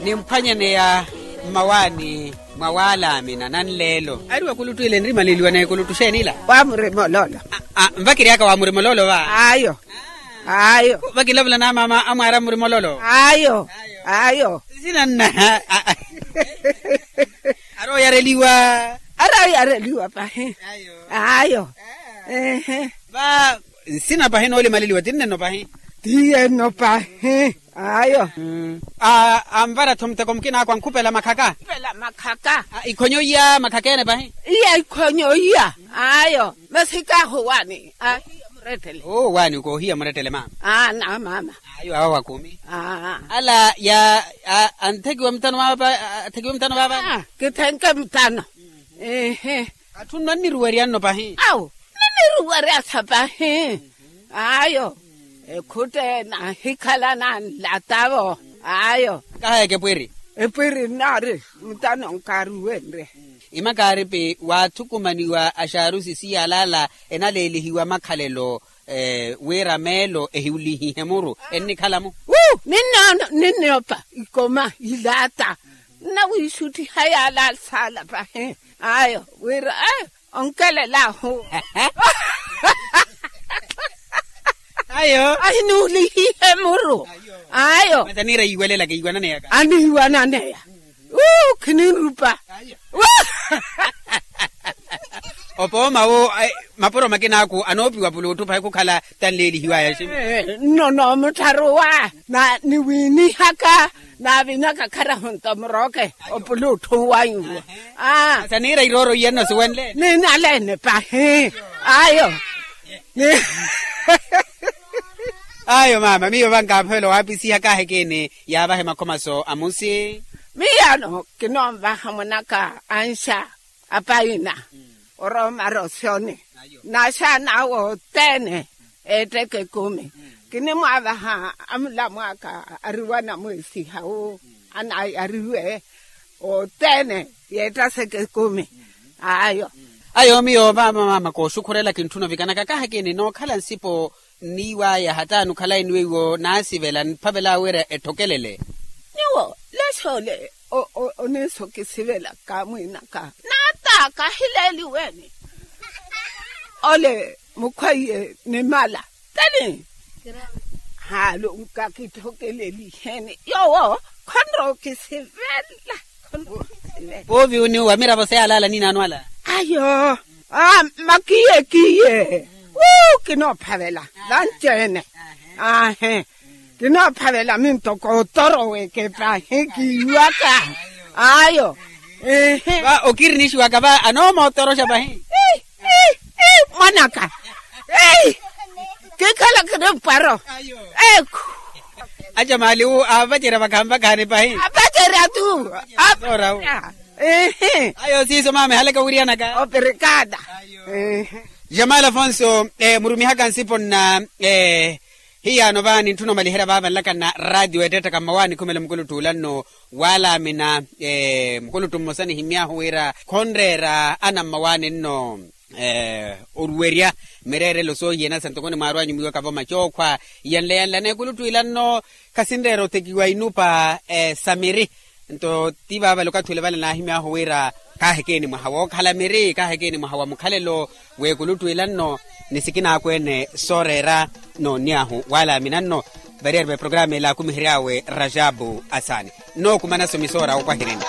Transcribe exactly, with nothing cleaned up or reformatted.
Nimphwanyaneya mmawaani mwa waalaamina nanleelo ari wakuluttu ile enrimaleliwa n'ekuluttu xeenila? Waamurima ololo. Nvakiryaka waamurima ololo va? Ayo. Ayo. Vakilavula na maama amwaari amurima ololo? Ayo. Ayo. Sinanna. Ari oyareliwa. Ari oyareliwa pahi. Ayo. Ehe. Va nsina pahi noolimaleliwa tinne nno pahi. Tiye nno pahi. Ayo. Anvara-tho muteko mukinaakwa nkhupela makhaka. Ikhonyo iya makhaka ene pahi. Iya ikhonyo iya. Ayo. Masi kahu waani ahiya murettele. Oo waani koohiya murettele maama. Aana maama. Ayo awo wa kumi. Ala ya anthekiwe mutano vaava. Atthekiwe mutano vaava. Kithenke mutano. Ehe. Atthunno anniruwerya nno pahi. Awo. Niniruwerya sa pahi. Ayo. Ekhutte nahikhala nanlatavo. Ayo. Kahaeke epwiri. Epwiri nnaari mutano nkaaruwenrye. Imakaaripi waathukumaniwa axaarusi siyalaala enaleelihiwa makhalelo. Wira meelo ehiulihihe muru ennikhala-mu. Ninnopa ikoma ilaata nnawiixuttiha yaala saala pahi. Ayo wira onkelelaahu. Ayo ahinuulihihe muru. Ayo masi aniira yiiwelelaka yiiwananeyaka aniiwananeya. Uu khininrupa. Opooma wo mapuro makinaaku anoopiwa pulutthu pahi khukhala tanleelihiwaya. Nno noomuttharuwa na niwiinihaka naavinaka kharahu nto murooke opulutthu wanyu. Aa saniira irooro iye nno siwenle ninaleene pahi. Ayo. Ayo maama miyo vankaaphoyela owaapisihaka ahekeeni yaavahe makhomaso amusi. Miyaano kinoonvaha mwanaka anxa apaina orooma rosyoni. Naxaana awo othene etteke ekumi kinimwaavaha amulamwaka ariwana mweesihawu anayariwe othene yeettaseke ekumi. Ayo. Ayo miyo maama maama kooxukhurela kintthuna ovikanaka kaha kini nookhala nsipo nniiwaya hata nukhalayi ni weiwo naasivela niphavelaawe wira etthokelele. Nyuwo lexoole oniisokisivela kaamwiinaka naata kahileeliweni. Ole mukhweiye nimala teni haalu nkakithokeleliheni yoowo khonrookisivela. Khonrookisivela. Poovi oniuwa miravo seyalaala ninaano ala. Ayo. Makiye kiye. Wuu kinoophavela vanci-ene. Aahe. Kinoophavela mintoko otoroweke pahi kiiwaka. Ayo. Ehe. Va okirinixiwaka va anoomotoroxa pahi. Mwanaka. Kiikhala kinimpwaro. Ekhu. Aca maali wu aavacerya vakhaani vakhaani pahi. Aavacerya tu. Aavacerya. Ayo siiso maama ehalaka owiriyanaka opirikada. Jamal afonso murumihaka nsipo nna. Hiyaano vaani ntthuna omaliherya vaava nlakana raatiyo eettettaka mmawaani khumela mukuluttu ula nno waalaamina. Mukuluttu mmosa nihimmy'ahu wira khonreera ana mmawaani nno oruwerya mireerelo soohiyana sa ntoko onimwaarwanyu mwiiwaka vomacookhwa. Iyanle yanle aneekuluttu ila nno khasinreera othekiwa inupa sa miri. Nto ti vaavale okathi ole vale naahimy'ahu wira kaaheke enimwaha wookhala miri kaaheke enimwaha wa mukhalelo. W'ekuluttu ila nno ni sikinaakweene sooreera noonny'ahu waalaamina nno. Variyari va eprograma ela akumihery'awe rajabu asaani nnookumana somisoora wookwahireni.